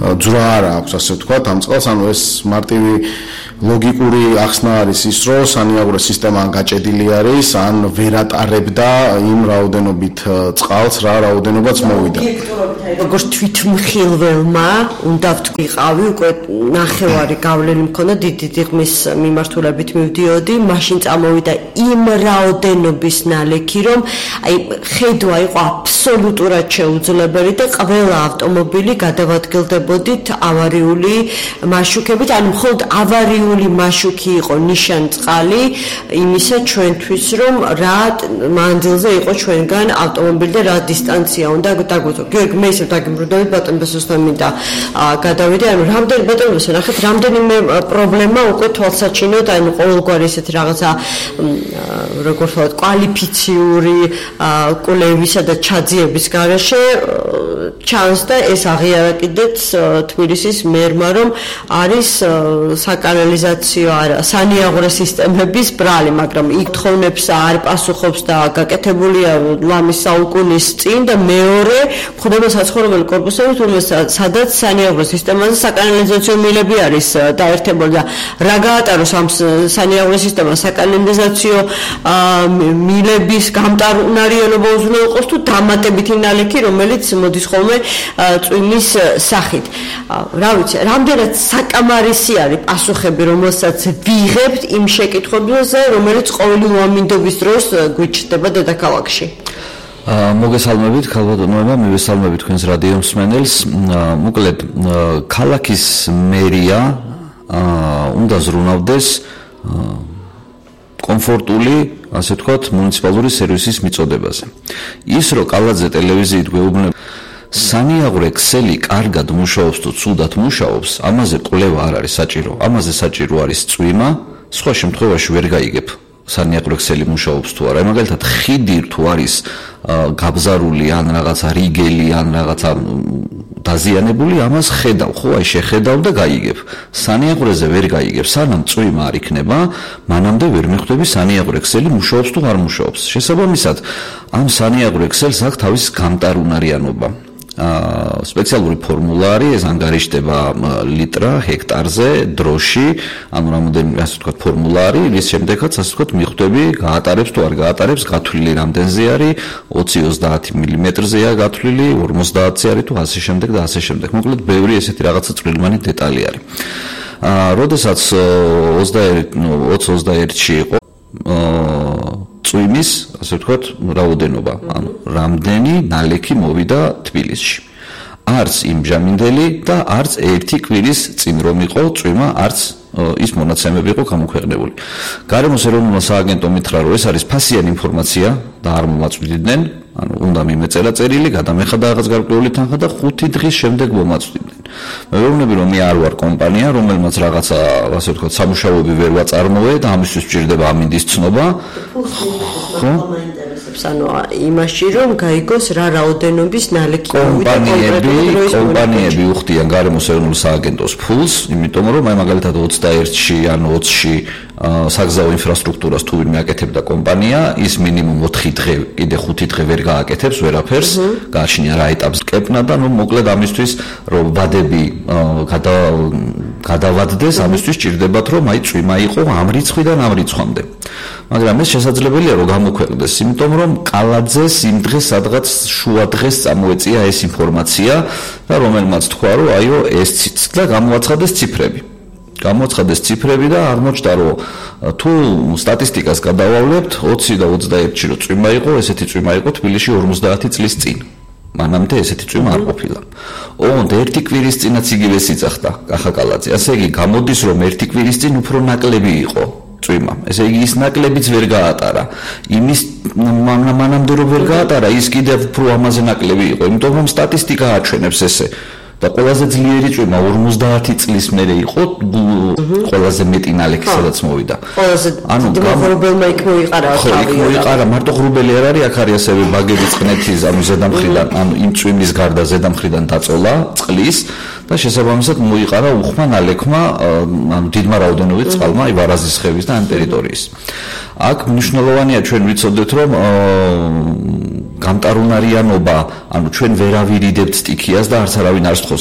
ძვრა არ აქვს, ასე ვთქვათ, ამ წყალს, ანუ ეს მარტივი ლოგიკური ახსნა არის ის, რომ სანიაღვრე სისტემა ან გაჭედილი არის, ან ვერ ატარებდა იმ რაოდენობით წყალს, რა რაოდენობაც მოვიდა. როგორც თვითმხილველმა უნდა ვთქვიყავი, უკვე ნახევარი გავლენი მქონდა დიდი ღმის მიმართულებით მივდიოდი, მაშინ წამოვიდა იმ რაოდენობის ნალექი, რომ აი ხედვა იყო აბსოლუტურად შეუძლებელი და ყველა ავტომობილი გადავადგილდებოდით ავარიული მაშუქებით, ანუ მხოლოდ ავარიული მაშუქი იყო ნიშანწყალი იმისა ჩვენთვის, რომ რა მანძილზე იყო ჩვენგან ავტომობილი და რა დისტანცია უნდა დაგვეცო. გიორგი, მე ისევ დაგიმრუდავით ბატონ ბესოსთან მინდა გადავიდე, ანუ რამდენი ბატონ ბესო, ნახეთ, რამდენიმე პრობლემა უკვე თვალსაჩინოდ, ანუ ყოველგვარი ესეთი რაღაცა როგორ ვთქვათ, კვალიფიციური კვლევისა და ჩაძიების გარეშე ჩანს და ეს აღიარა კიდეც თბილისის მერმა, რომ არის საკანალიზაციო სანიაღვრე სისტემების ბრალი, მაგრამ იქ თხოვნებს არ პასუხობს და გაკეთებულია ლამის საუკუნის წინ და მეორე გვხვდება საცხოვრებელი კორპუსები, სადაც სანიაღვრე სისტემაზე საკანალიზაციო მილები არის დაერთებული და რა გაატაროს ამ სანიაღვრე სისტემას საკანალიზაციო მილების გამტარუნარიანობა უზრუნო იყოს თუ დამატებითი ნალექი, რომელიც მოდის ხოლმე წვიმის სახით. რა ვიცი, რამდენად საკამარისი არის პასუხები, რომელსაც ვიღებთ იმ შეკითხვებზე, რომელიც ყოველი უამინდობის დროს გვიჩნდება დედაქალაქში. მოგესალმებით, ქალბატონოებმა, მივესალმებით თქვენს რადიო მსმენელს. მოკლედ, ქალაქის მერია უნდა ზრუნავდეს კომფორტული, ასე ვთქვათ, მუნიციპალური სერვისის მიწოდებაზე. ის, რომ კალაძე ტელევიზიით გვეუბნება სანიაღვრე ქსელი კარგად მუშაობს თუ ცუდად მუშაობს, ამაზე კვლევა არ არის საჭირო. ამაზე საჭირო არის წვიმა, სხვა შემთხვევაში ვერ გაიგებ სანიაღვრე ქსელი მუშაობს თუ არა. მაგალითად, ხიდი თუ არის გაბზარული ან რაღაცა რიგელი ან რაღაცა დაზიანებული, ამას ხედავ, ხო, აი შეხედავ და გაიგებ. სანიაღვრეზე ვერ გაიგებ, სანამ წვიმა არ იქნება, მანამდე ვერ მიხვდები სანიაღვრე ქსელი მუშაობს თუ არ მუშაობს. შესაბამისად, ამ სანიაღვრე ქსელს აქვს თავის გამტარუნარიანობა. სპეციალური ფორმულა არის, ეს ანგარიშდება ლიტრა ჰექტარზე დროში, ანუ რამოდენიმე ასე ვთქვათ ფორმულა არის, რის შემდეგაც ასე ვთქვათ მიხვდები გაატარებს თუ არ გაატარებს, გათვლილი რამდენზე არის, 20-30 მმ-ზეა გათვლილი, 50-ზე არის თუ ასე შემდეგ და ასე შემდეგ. მოკლედ ბევრი ესეთი რაღაცა წვრილმანი დეტალი არის. როდესაც 20-21-ში იყო წვიმის, ასე ვთქვათ, რაოდენობა, ანუ რამდენი ნალექი მოვიდა თბილისში. არც იმჟამინდელი და არც ერთი კვირის წინ რომ იყო წვიმა, არც ის მონაცემები იყო გამოქვეყნებული. გარემოს ეროვნულმა სააგენტომ მითხრა, რომ ეს არის ფასიანი ინფორმაცია და არ მომაწვდიდნენ, ანუ უნდა მიმეწერა წერილი, გადამეხადა რაღაც გარკვეული თანხა და 5 დღის შემდეგ მომაწვდიდნენ. მე ვეუბნები, რომ მე არ ვარ კომპანია, რომელმაც რაღაცა, ასე ვთქვათ, სამუშაოები ვერ ვაწარმოე და ამისთვის სჭირდება ამინდის ცნობა. ხო? ანუ იმაში რომ გაიგოს რა რაოდენობის ნალექი მოვიდა კომპანიები უხდიან გარემოს ეროვნულ სააგენტოს ფულს, იმიტომ რომ აი მაგალითად 21-ში ან 20-ში საგზაო ინფრასტრუქტურას თუ ვინმე აკეთებდა კომპანია, ის მინიმუმ 4 დღე, კიდე 5 დღე ვერ გააკეთებს ვერაფერს, გააჩნია რა ეტაპს კეპნა და ნუ მოკლედ ამისთვის რომ ვადები გადავადდეს, ამისთვის სჭირდებათ რომ აი წვიმა იყო ამ რიცხვიდან ამ რიცხვამდე. მაგრამ ეს შესაძლებელია რომ გამოქვეყნდეს, იმიტომ რომ კალაძეს იმ დღეს სადღაც შუა დღეს წამოეწია ეს ინფორმაცია და რომელმაც თქვა რომ აიო ეს და გამოაცხადეს ციფრები. გამოაცხადეს ციფრები და აღმოჩნდა რომ თუ სტატისტიკას გადავავლებთ 20 და 21-ში რო წვიმა იყო, ესეთი წვიმა იყო თბილისში 50 წლის წინ. მანამდე ესეთი წვიმა არ ყოფილა. ოღონდ ერთი კვირის წინაც იგივე სიძახდა კახა კალაძე. ასე იგი გამოდის რომ ერთი კვირის წინ უფრო ნაკლები იყო წვიმა. ესე იგი ის ნაკლებიც ვერ გაატარა. იმის მანამდე რომ ვერ გაატარა, ის კიდევ უფრო ამაზე ნაკლები იყო, იმიტომ რომ სტატისტიკა აჩვენებს ესე. და ყველაზე ძლიერი წვიმა 50 წლის მერე იყო ყველაზე მეტი ნალექი სადაც მოვიდა. ანუ გამორბელმა იქ მოიყარა თავი. იქ მოიყარა, მარტო ღრუბელი არ არის, აქ არის ასევე ბაგები წყნეთის ანუ ზედამხრიდან, ანუ იმ წვიმის გარდა ზედამხრიდან დაწოლა წყლის და შესაბამისად მოიყარა უხმა ნალექმა, ანუ დიდმა რაოდენობით წყალმა აი ვარაზის ხევის და ამ ტერიტორიის. აქ მნიშვნელოვანია ჩვენ ვიცოდეთ რომ გამტარუნარიანობა, ანუ ჩვენ ვერ ავირიდებთ სტიქიას და არც არავინ არ სთხოვს